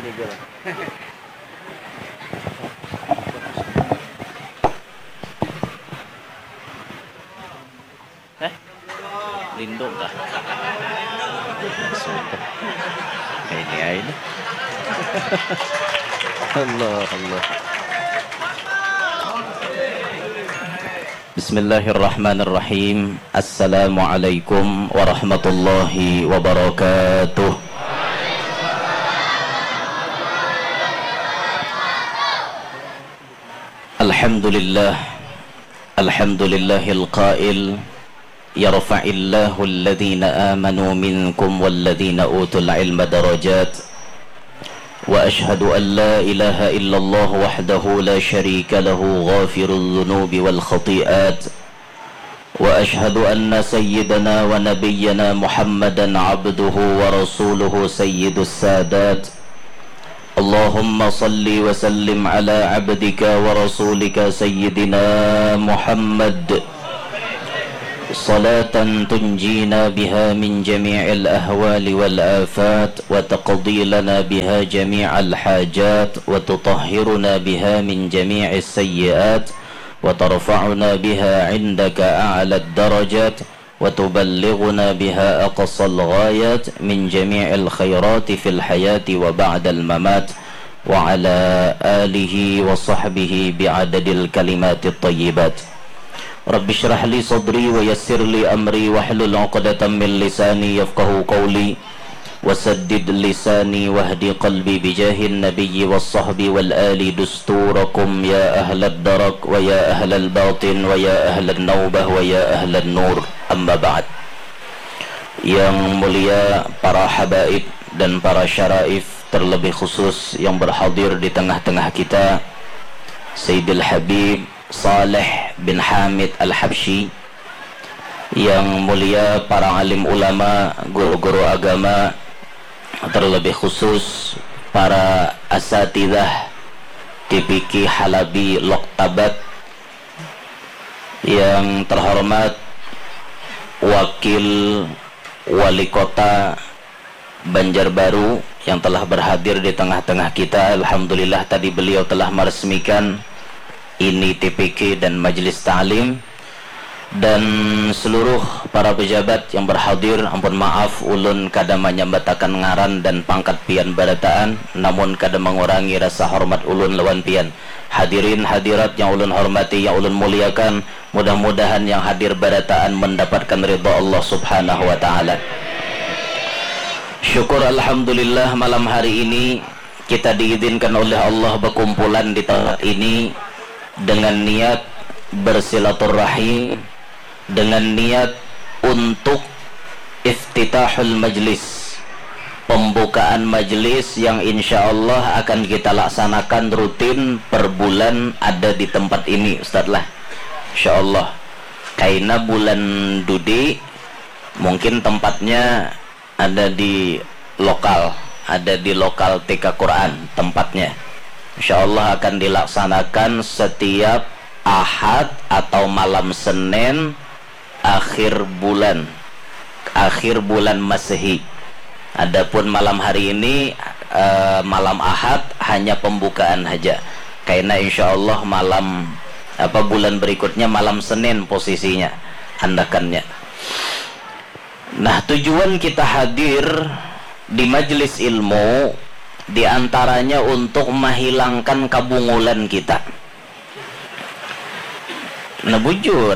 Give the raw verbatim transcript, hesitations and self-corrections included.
Eh, lindung kah? Sumpah. Ini aja. Allah, Allah. Bismillahirrahmanirrahim. Assalamualaikum warahmatullahi wabarakatuh. Alhamdulillah. Alhamdulillahil qail, yarfa'illahu alladhina amanu minkum walladhina utul ilma darajat. Wa ashhadu an la ilaha illallah wahdahu la sharika lahu ghafirul dhunubi wal khati'at. Wa ashhadu anna sayyidana wa nabiyyana Muhammadan abduhu wa rasuluhu sayyidus sadat. Allahumma salli wa sallim ala abdika wa rasulika sayyidina Muhammad. Salatan tunjina biha min jami'il ahwali wal afat wa taqdi lana biha jami'al hajat wa tutahhiruna biha min jami'is sayyiat wa tarfa'una biha indaka a'lad darajat wa tuballighuna biha aqsal ghayat min jami'il khairati fil hayati wa ba'dal mamat wa ala alihi wa sahbihi bi'adadil kalimatit tayyibat. Rabbi shrah li sadri wa yassir li amri wahlul uqdatam min lisani yafqahu qawli. Wasaddid lisani wahdi qalbi bijahin nabiyyi was sahbi wal ali dusturakum ya ahlad darak wa ya ahlal batin wa ya ahlan naubah wa ya ahlan nur. Amma ba'd. Yang mulia para habaib dan para syaraif, terlebih khusus yang berhadir di tengah-tengah kita, Sayyidil Habib Saleh bin Hamid Al-Habsyi, yang mulia para alim ulama, guru-guru agama, terlebih khusus para asatidah T P Q Halabi Loktabat, yang terhormat Wakil Wali Kota Banjarbaru yang telah berhadir di tengah-tengah kita. Alhamdulillah, tadi beliau telah meresmikan ini T P Q dan Majelis Ta'lim. Dan seluruh para pejabat yang berhadir, ampun maaf, ulun kada manyambatakan ngaran dan pangkat pian barataan, namun kada mengurangi rasa hormat ulun lawan pian. Hadirin hadirat yang ulun hormati, yang ulun muliakan, mudah-mudahan yang hadir barataan mendapatkan ridha Allah Subhanahu wa Ta'ala. Syukur alhamdulillah, malam hari ini kita diizinkan oleh Allah berkumpulan di tempat ini dengan niat bersilaturahim, dengan niat untuk iftitahul majlis, pembukaan majlis yang insya Allah akan kita laksanakan rutin per bulan ada di tempat ini, Ustaz lah. Insya Allah. Kaina bulan dudi mungkin tempatnya ada di lokal, ada di lokal T K Quran tempatnya. Insya Allah akan dilaksanakan setiap Ahad atau malam Senin akhir bulan, akhir bulan Masehi. Adapun malam hari ini, eh, malam Ahad, hanya pembukaan saja. Karena insya Allah malam, apa, bulan berikutnya malam Senin posisinya, andakannya. Nah, tujuan kita hadir di majelis ilmu diantaranya untuk menghilangkan kabungulan kita. Nah, bujur,